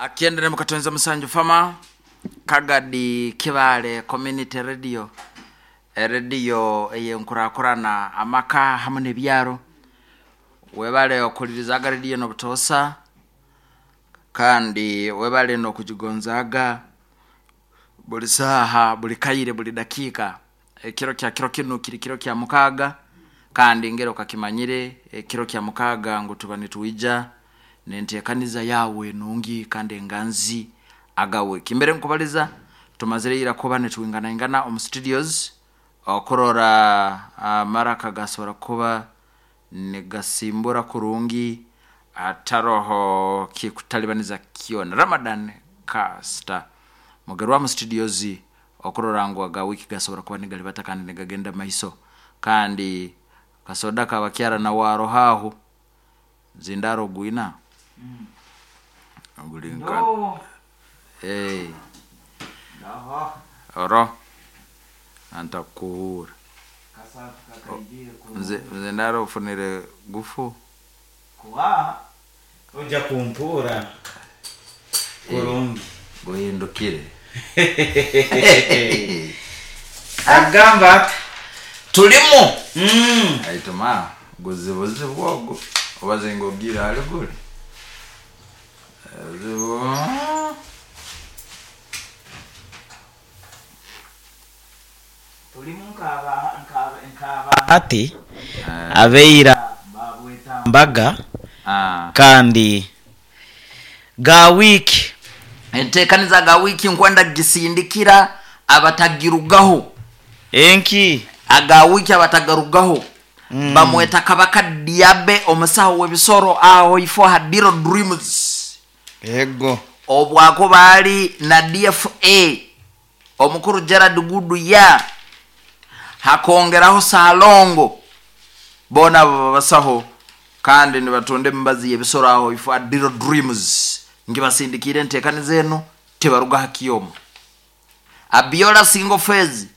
Akiendere mukatonza musanju fama Kagadi Kibaale Community Radio, erediyo ey'enkurakurana amaka hamu n'ebyaro. Webale okuhulirizaga rediyo enu obutoosa kandi webale n'okugigonzaaga buli saaha, buli kaire, buli dakiika. Ekiro kya kiro kinu kiri kiro kya mukaaga kandi ngeri okakimanyire ekiro kya mukaaga ngu tuba nitwija n'enteekaniza yaawe enungi kandi enganzi aga wiiki. Mbere nkubaliza tumazire ira kuba nitwinganaingana omu studios okurora amaraka gasobora kuba nigasimbura kurungi hataroho kikutalibaniza kyona. Ramadan Kasita Mugerwa mu studios okurora ngu aga wiiki gasobora kuba nigalibata kandi nigagenda mumaiso. Kandi kasoda kabakyara nawe aroho aho, zindaro ogwina? Guli nka eh, oro antakukuhuura. Nzindaro ofunire gufu? Ojja kumpuura kurungi. Guhindukire. Agamba ati. Tulimu. Aituma guzibuzibu ogu obaze ngu ogiire hali guli. Obuzibu. Tulimu nk'abahati abaira babweta mbaga kandi ga wiiki. Enteekaniza ga wiiki nkwenda kugisindikira abatagirugaho. Enki? Aga wiiki abatagarugaho bamweta Kabaka Diabe omusaho w'ebisoro aho ifo ha Diro Dreams. Ego. Obwakuba ali na DFA omukuru Gerald Guduya hakongeraho Salongo boona abo babasaho kandi nibatunda emibazi y'ebisoro aho ifo ha Diro Dreams. Ngibasindikiire enteekaniza enu tibaruga ha kyooma. Abiola Single Phase.